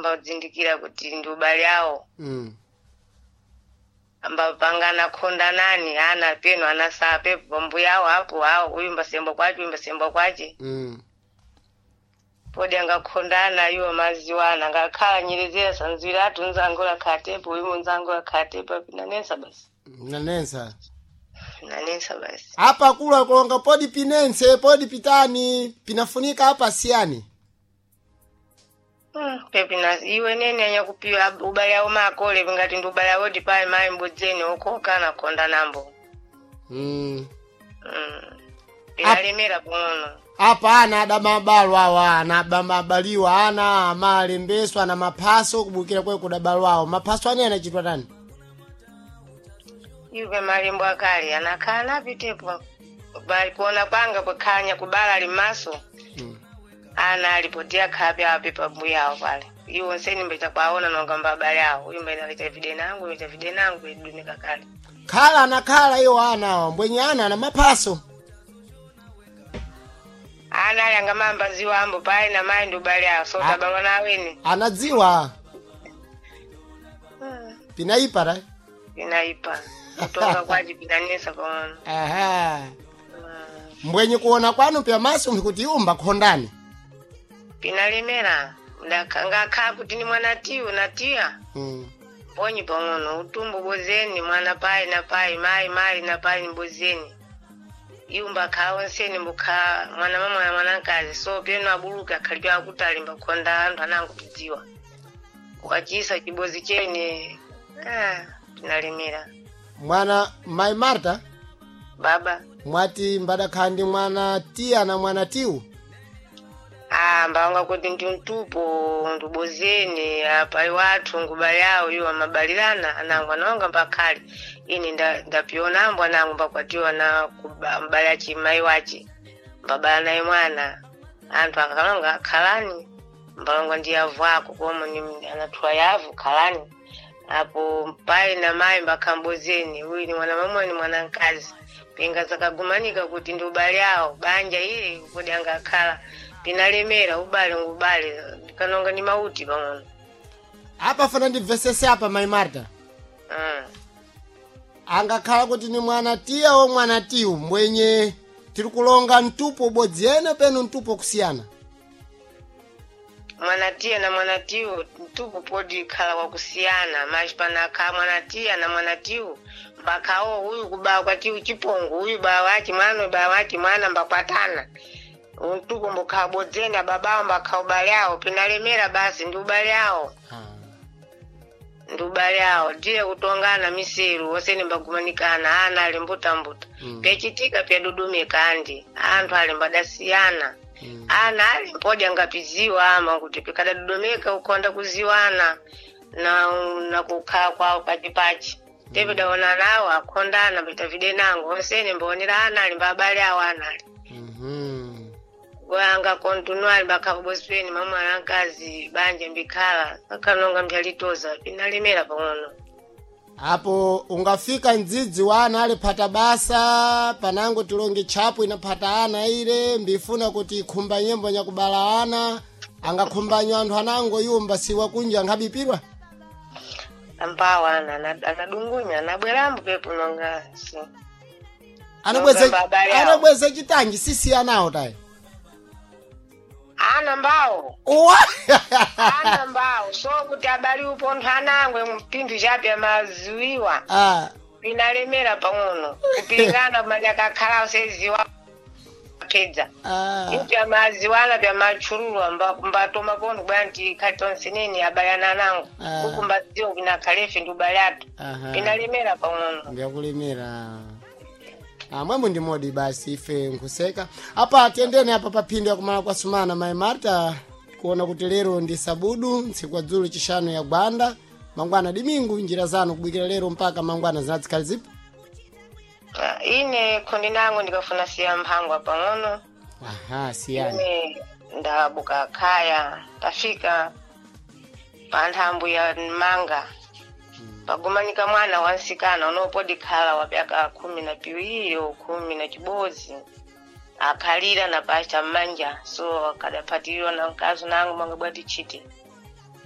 Mbadzindikira kuti ndi ubale awo. Ambapangana khondanani ana peno anasaa pepo pambuya awo apo awo uyu mbasemba kwace uyu mbasemba kwace. Podi angakhondana iwo maziwana ngakhala nyerezera sanzwira atu nzangu lakhatepo uyu munzangu lakhatepo pinanensa basi. Nanensa. Pinanensa basi. Apa kula kulonga podi pinense podi pitani pinafunika apa siyani. Pepina iwe nene anyakupiwa ubale awo makole ngati ndi ubale awo dipayi mayi mbudzeni ukoka nakhonda nambo. Pinalemera pang'ono. Apa ana adamabalwa awa ana adamabaliwa ana amalembeswa na maphaso kubukira kwe kudabalwawo maphaso ane anachitwa tani. Iwe malembo akale anakhala napitepo kuona kwanga kwekhala kubala limaso. Ana alipotia khapi api pambuya awo pale iwo nseni mbecha kwaona nonga mbabale awo uyu mbene akaita vide nangu uyu vide nangu idumika kale. Khala anakhala iwo ana awa mbwenye ana ana maphaso. Ana ali angamamba ziwo ambo payi na mayi ndi ubale awo so tabalwa na aweni. Anadziwa. Pinaipa ta. Pinaipa kutonga kwaci pinanesa pang'ono. Aha. Mbwenye kuona kwanu pya maso mkuti iwo mbakhondani. Pinalemera ngakhala kuti ni mwana tiyu na tiya. Ponyi pang'ono utumbo bozeni mwana payi na payi mayi mayi na payi ni bozeni iwo mbakhala onseni mbukhala mwana mamwana mwanakazi so peno abuluka akhalipe akutali mbakhonda anthu anango kudziwa wachisa chibozi chene ah, pinalemera. Mwana mai Marta. Baba. Mwati mbadakhala ndi mwana tiya na mwana tiwu. Ah, mbawanga kuti ndi mtupo ndibozeni apa iwathu ngubale awo iwo amabalirana anangu anawanga mbakhale ine ndapionambo anangu mbakwatiwa na mbale achi mayi wace mbabala naye mwana anthu akalonga khalani mbalonga ndi yavu ako komo ni anathuwa yavu khalani apo mpayi na mayi mbakhambozeni uyu ni mwana mamuna ni mwana mkazi pinga zakagumanika kuti ndi ubale awo banja ile kodi angakhala pinalemera ubale ngubale kanonga ni mauti pang'ono. Apa fana ndibvesese apa mai Marta. Angakhala kuti ni mwana tiya o mwana tiwu mbwenye tiri kulonga mtupo ubodzi ene peno mtupo kusiyana. Mwana tiya na mwana tiwu mtupo podi khala wakusiyana machi panakhala mwana tiya na mwana tiwu mbakhawo uyu kubawa kwa tiwu chipongo uyu bawa wachi mwana uyu bawa wachi mwana mbakwatana mtupo mbukhala bodzeni ababawo mbakhala ubale awo pinalemera basi ndi ubale awo. Ndi ubale awo ndiye kutongana miseru osene mbagumanikana ana ali mbutambuta. Pyachitika pyadudumika andi anthu ali mbadasiyana. Ana ali mpodya ngapiziwa ama kuti pikadadodomeka ukhonda kuziwana na na kukhala kwawo pachipachi tepidaona nawo akhondana pitavide nango onsene mbaonera ana ali mbabale awo ana ali wanga kontinuali bakhabosweni mamwana nkazi banja mbikhala akanonga mbyalitoza pinalemera pang'ono. Apo ungafika mdzidzi wa ana aliphata basa panango tilonge tchapu inaphata ana ile mbifuna kuti ikhumba nyembo nyakubala ana angakhumbanywa anthu anango iwo mbasiwa kunja angabipirwa. Ambawo ana anadungunya anabwerambo pepo nonga si. Anabweza Nonga mbabale awo. anabweza chitanji sisi anawo tayi. Ana mbawo. Uwa. Ana mbawo so kuti abali upo anthu anangwe mpinthu chape amaziwiwa. Pinalemera pang'ono kupingana manyakakhala seziwa phedza. Ipya maziwana pya machululwa mbatoma kono kubwera nti khali tonse nene abalana anango. Uku mbadziwa kunakhalefe ndi ubale athu. Pinalemera pang'ono. Ndiyakulemera amwemwe ndi modi basi ife nkuseka apa tiyendeni apa paphindo yakumala kwa sumana mai Marta kuona kuti lero ndi sabudu ntsiku adzulu chishanu ya gwanda mangwana dimingu njira zanu kubwikira lero mpaka mangwana zinazikhali zipo. Ah, ine khondi nango ndikafuna siya mphangwa pang'ono. Aha, siyani. Ine ndabuka khaya tafika pa nthambo ya manga pagumanika mwana wansikana unopodi khala wa pyaka 12 o 11 akhalira na pacha mmanja so akadaphatilirwa na mkazi nangu manga bwati chiti.